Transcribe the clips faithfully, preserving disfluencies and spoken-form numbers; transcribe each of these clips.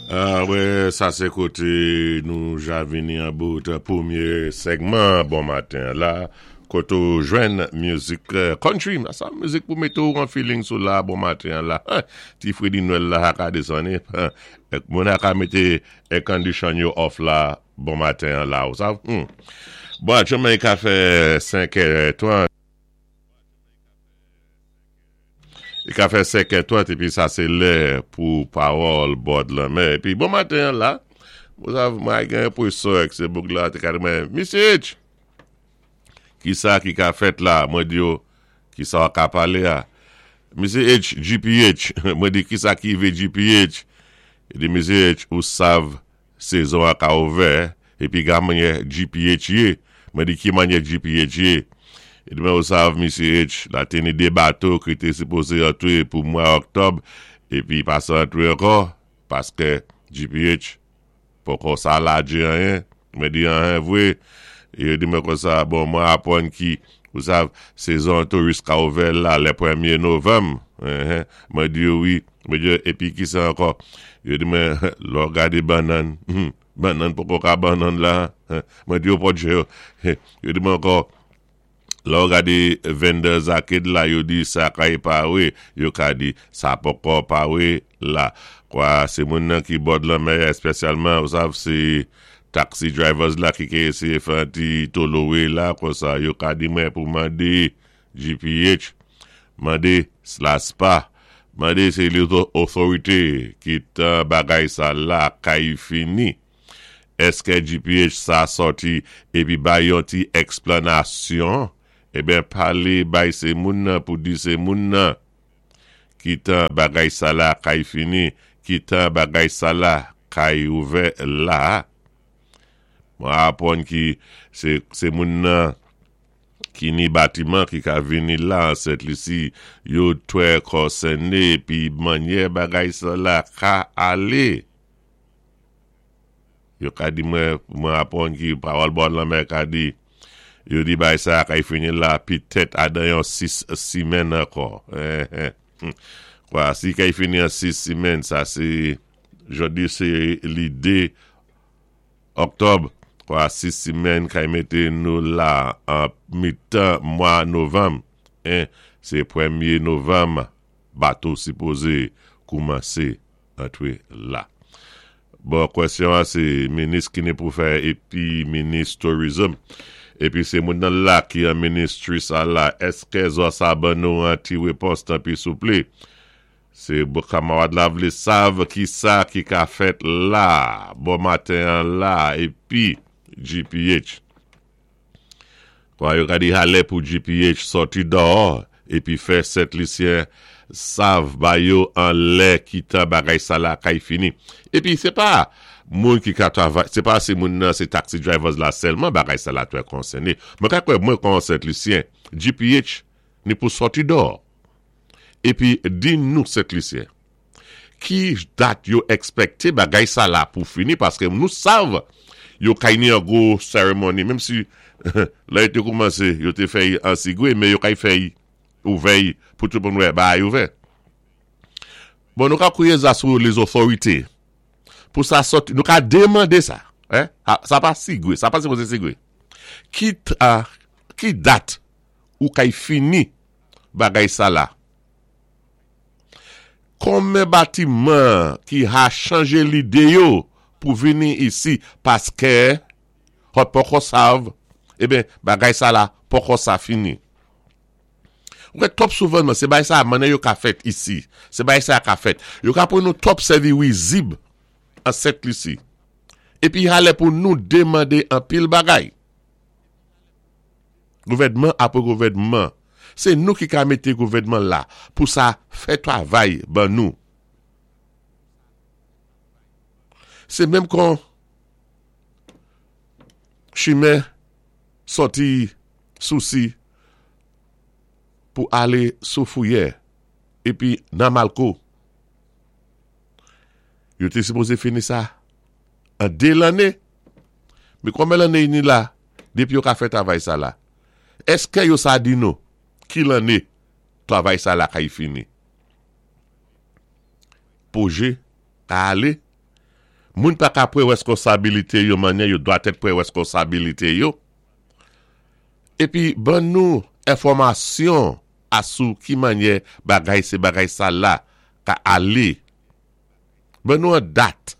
Ah, wè, sa sé koté nou ja vini an bout pwémyé segman bon maten la koté ou jwenn mizik country, sa mizik pou mété ou an feeling sou la bon maten la. Ti fredi Nwèl la a ka désann, moun a ka mété air condition yo off la bon maten la ou sa. Hmm. Bon, aktyèlman i ka fè senk è trant. I ka fè senk è trant épi sa sé lè pou Pawòl Bò Lanmè. Épi bon maten la, mwen gen enpwésyon ke sé boug la te ka di mwen, "Misye H, ki sa ki ka fèt la?" Mwen di yo, "Ki sa w ka palé a?" "Misye H, G P H" Mwen di, "Ki sa ki vé G P H" I di, "Misye H, ou sav sézon a ka ouvè, épi ga mannyè G P H yé." Mwen di, "Ki mannyè G P H yé?" I di mwen, "Ou sav, Misye H, la té ni dé bato ki té sipozé antwé pou mwa Oktòb, épi pa sa antwé ankò, paské G P H poko sa lajé anyen." Mwen di, "Anyen vwé?" Yo di mwen kon sa, "Bon, mwen apwann ki, ou sav, sézon touris ka ouvè la, lé pwémyé novanm." Mwen di yo wi, mwen di yo, "Épi ki sa ankò?" Yo di mwen, "Lò w gadé bannann, bannann poko ka bannann la." Mwen di yo podje yo. Yo di mwen ankò, "Lò w gadé Vendors Arcade la, yo di sa kay pawé, yo ka di sa poko pawé la." Kwa sé moun nan ki bò lanmè, espesyalman, ou sav, sé taxi drivers la ki ké ésyé fè ti tolowé la, kon sa, yo ka di mwen pou mandé G P H, mandé SLASPA, mandé sé otorité ki tan bagay sa la kay fini. Èské G P H sa sòti épi bay yon ti èksplanasyon? Eben palé bay sé moun nan pou di sé moun nan ki tan bagay sa la kay fini, ki tan bagay sa la kay ouvè la. Mwen apwann ki sé moun nan ki ni batiman ki ka vini la an Sent Lisi, yo twè konsèné pi mannyè bagay sa la ka alé. Yo ka di mwen, mwen apwann ki Pawòl Bò Lanmè ka di, yo di bay sa kay fini la pitèt adan yon sis simèn ankò. Kwa, si kay fini an sis simèn, sa sé, jodi sé li dé Oktòb, kwa sis simèn kay mété nou la an mitan mwa novanm. Sé pwémyé novanm, bato sipozé koumansé antwé la. Bon, kwèsyon an sé minis ki ni pou fè épi minis tourism. Épi sé moun nan la ki an ministry sa la, èské zòt sa ban nou an ti wépons tanpi souplé? Sé kamarad la vlé sav ki sa ki ka fèt la, bon maten an la, épi G P H. Kwa yo ka di halè pou G P H sòti dò, épi fè Sent Lisyen sav ba yo an lè ki tan bagay sa la kay fini. Épi sé pa moun ki ka travay, sé pa sé moun nan sé taxi drivers la sèlman bagay sa la twè konsèné. Mwen ka kwè mwen kon Sent Lisyen, G P H ni pou sòti dò. Épi di nou Sent Lisyen, ki dat yo èkspèkté bagay sa la pou fini, paské nou sav yo kay ni an gwo seremoni, menm si la yo té koumansé, yo té fè an sigwé, men yo kay fè ouvè pou tout moun wè bagay ouvè. Bon, nou ka kwiyé sa sou les autorités. Pou sa sòti, nou ka démandé sa. Sa pa sigwé, sa pa sipozé sigwé. Ki, ki dat ou kay fini bagay sa la? Konmen batiman ki ha chanjé lidé yo pou vini isi paské hot poko sav, eben bagay sa la poko sa fini. Wè, twòp souvan, sé bay sa mannyè yo ka fèt isi. Sé bay sa ka fèt. Yo ka pou nou twòp sèvi wizib an Sent Lisi. Épi halè pou nou démandé an pil bagay. Gouvèdman apwé gouvèdman. Sé nou ki ka mété gouvèdman la pou sa fè travay ban nou. Sé menm kon chimen sòti Sousi pou alé sou Fouyè épi nan Malko. Yo té sipozé fini sa an dé lanné. Men konmen lanné ni la dépi yo ka fè travay sa la? Èské yo sa di nou ki lanné travay sa la kay fini? Pwojé ka alé. Moun pa ka pwan wèskonsabilité yo manyè yo dwatèt pwan wèskonsabilité yo. Épi ban nou enfòmasyon asou ki manyè bagay sé bagay sa la ka alé. Ban nou an dat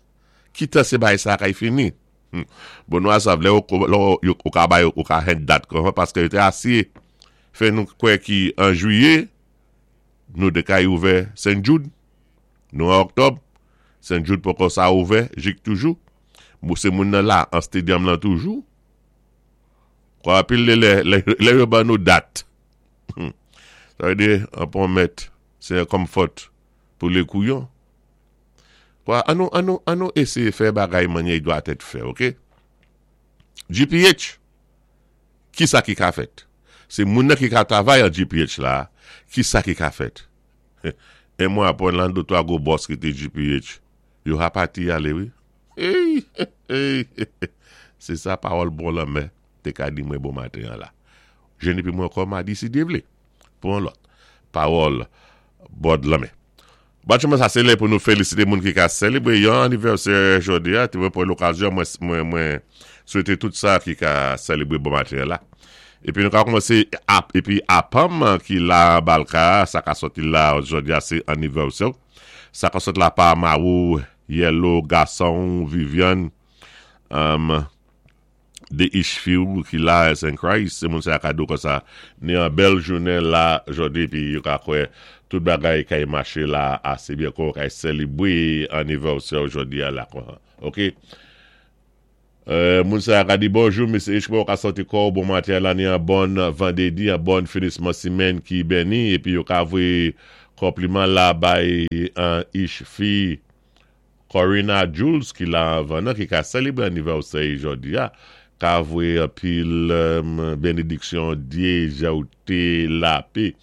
ki tan sé bagay sa kay fini. Hmm. Bon nou a sav lè ou, lè ou ka bay ou ka hen dat kon, paské yo té asyé fè nou kwè ki an jwiyé nou dé kay ouvè Saint Jude. Nou an oktòb, Saint Jude poko sa ouvè, jik toujou. Mou sé moun nan la, an stadium lan toujou. Kwa apil lè, lè, lè, lè yo ban nou dat. Hmm. Sa wé di, an pon mèt, sé an comfort pou lé kouyon. Kwa, an nou, an nou, an nou ésyé fè bagay manyè dwatèt fè, ok? G P H, ki sa ki ka fèt? Sé moun nan ki ka travay an G P H la, ki sa ki ka fèt? É mwen apwan lan dé twa gwo boss ki té G P H, yo ha pati alé, wi. Hey, hey, sé sa pawòl bò lanmè, té ka di mwen bon maten an la. Jwenn épi mwen ankò madi si Dye vlé. Pou an lòt. Pawòl bò lanmè. Batchouman sa sé lè pou nou félisité moun ki ka sélébré yon anivèsè jòdi a, té mwen pwan lokazyon mwen, mwen, mwen swété tout sa ki ka sélébré bon maten la. Épi nou ka kòmansé ap, épi apam ki la Balka, sa ka sòti la jòdi a sé anivèsè. Sa ka sòti la pa Marou, Yellow, Gasson, Viviane, um, de Ishfield ki la Saint Christ, sé moun sa kado kon sa, ni an bèl jounen la jòdi, pi yo ka kwè tout bagay kay maché la asé byen kon kay sélébré anivèsè jòdi a la kon. Ok? Euh, moun sa ka di bonjou, Misye H, mwen ka santi kò bon maten la ni an bon vandédi, an bon finisman simèn ki béni, épi yo ka voyé konpliman la bay an Ishfi Corina Jules ki la anvan nan, ki ka sélébré anivèsè jòdi a, ka voyé anpil um, bénédiksyon Dye, jawte, lapè.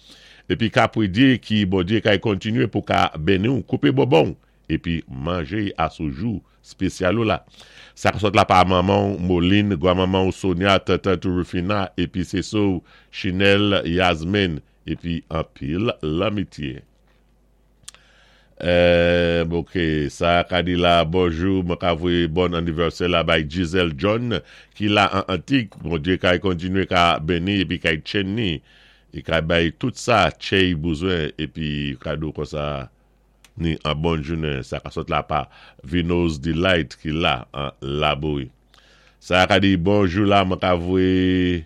Épi ka pwé Dye ki bon Dye kay kontinué pou ka béni ou, koupé bonbon, épi manjé asou jou spésyal ou la. Sa ka sot la pa maman Moline, gwa maman Sonia, tata Rufina, épi sé sou Chinel, Yasmine, épi anpil lanmityé. Euh, ok, sa ka di la, bonjou, mwen ka voyé bon anivèsè la bay Giselle John, ki la an Antik, bon Dye kay kontinué ka béni, épi kay tchenn ni, é kay bay tout sa tchéy bezwen, épi kado kon sa, ni an bon jounen, sa ka sot la pa Vino's Delight ki la an Laboui. Sa ka di bonjou la, mwen ka voyé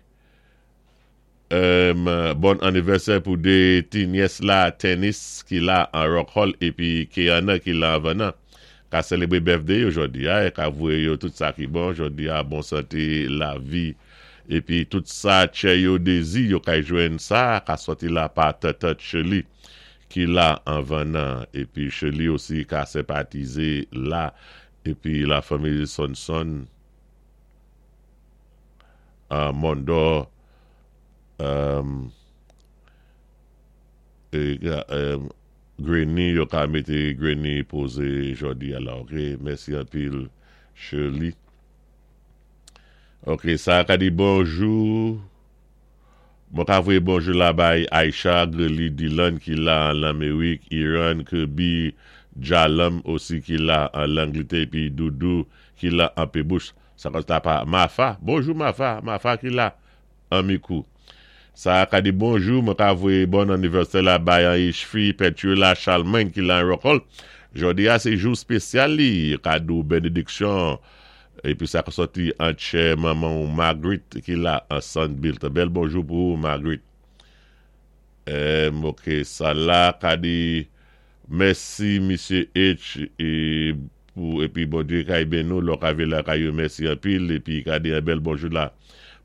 um, bon anivèsè pou dé ti nyès la Tennis ki la an Rock Hall épi Keana ki la an Vanan. Ka sélébré birthday jòdi a, é ka voyé yo tout sa ki bon jòdi a, bon santé, lavi, épi tout sa tchè yo dézi, yo kay jwenn sa, ka sòti la pa Tata Shirley ki la an Vanan, épi Shirley osi ka senpatizé la, épi la fanmi Sonson, uh, Mondor, um, é, um, Granny, yo ka mété Granny pozé jòdi a la, ok? Mèsi anpil, Shirley. Ok, sa ka di bonjou. Mwen ka voyé bonjou la bay Aisha, Greli, Dylan ki la an Lamérik, Iran, Kirby, Jalam osi ki la an Langlétè, épi Doudou ki la an Pébouche. Sa ka ta pa Mafa. Bonjou Mafa, Mafa ki la an Mikou. Sa ka di bonjou, mwen ka voyé bon anivèsè la bay an Ishfi, Petula, Charlemagne ki la an Rock Hall. Jòdi a sé jou spésyal li, kado bénédiksyon. Épi sa ka sòti an tchè maman ou Marguerite ki la an Sandbilt. Bèl bonjou pou ou, Marguerite. Eh, ok, sa la ka di mèsi Misye H é pou épi bon Dye kay béni nou, lò ka la kay yo mèsi anpil épi ka di yon bèl bonjou la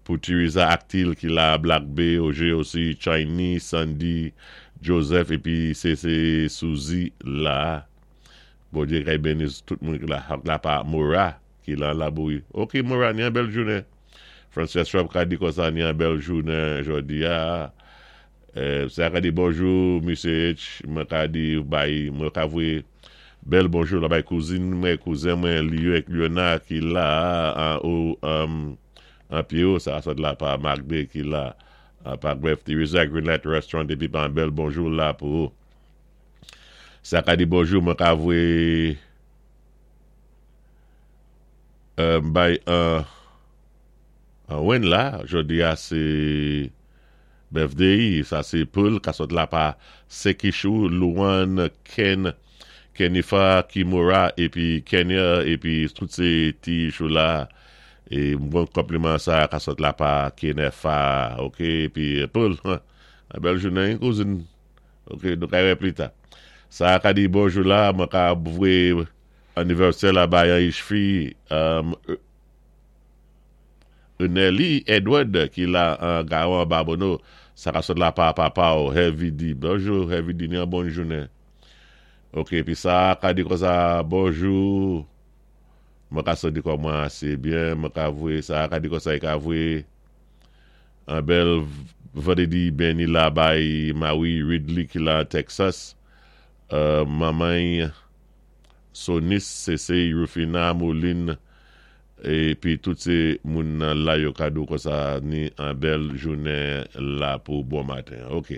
pou Teresa Actil ki la Black Bay, Oje osi Chinese, Sandy, Joseph épi sé sé Suzy la. Bon Dye kay béni tout moun ki la. Ak la pa Mora ki la Laboui. Ok Mora, ni yon bèl jounen. Frances Rob ka di kon sa ni yon bèl jounen jòdi a. Euh, sa ka di bonjou Misye H, mwen ka di bay, mwen ka voyé bèl bonjou la bay kouzin mwen, kouzen mwen Liyo ek Liona ki la an ou um, an Pio, sa sot la pa Magde ki la an pa Gref Teresa Greenlight Restaurant épi pa un bèl bonjou la pou ou. Sa ka di bonjou, mwen ka voyé Bay an wen la, jodi a sé birthday, sa sé Paul, ka sot la pa Sekishou, Luan, Ken, Kenifa, Kimura, épi Kenya, épi tout sé ti chou la, é bon konpliman sa ka sot la pa Kenefa, ok, épi Paul, bèl jounen, kouzin, ok, nou ka wè plita. Sa ka di bonjou la, mwen ka voyé anivèsè la bay an ich fi, Nelly Edward ki la an Gawan Babonneau, sa ka sot la pa papa ou Heavy D. Bonjou Heavy D, ni an bon jounen. Ok, pi sa ka di kon sa, bonjou, mwen ka sot di kon mwen ase byen, mwen ka voyé, sa ka di kon sa, i ka voyé an bèl vandédi béni la bay Maui Ridley ki la Texas, uh, mamay Sonis, Sese, Rufina, Moulin, épi tout sé moun nan la yo kado kon sa ni an bèl jounen la pou bon maten. Ok.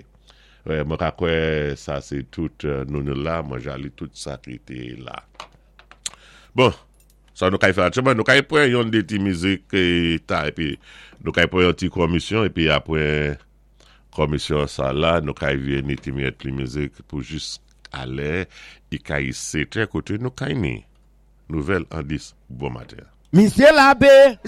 Mwen ka kwè sa sé tout nou nou la, mwen jali tout sa ki té la. Bon, sa nou kay fè atcheman, nou kay pran yon dé ti mizik ta, épi nou kay pran yon ti komisyon, épi apwé komisyon sa la, nou kay vini ti miyèt li mizik pou jis alè, i kay sete koté nou kay ni. Nouvèl an dis, bon maten. Misyé Labbé.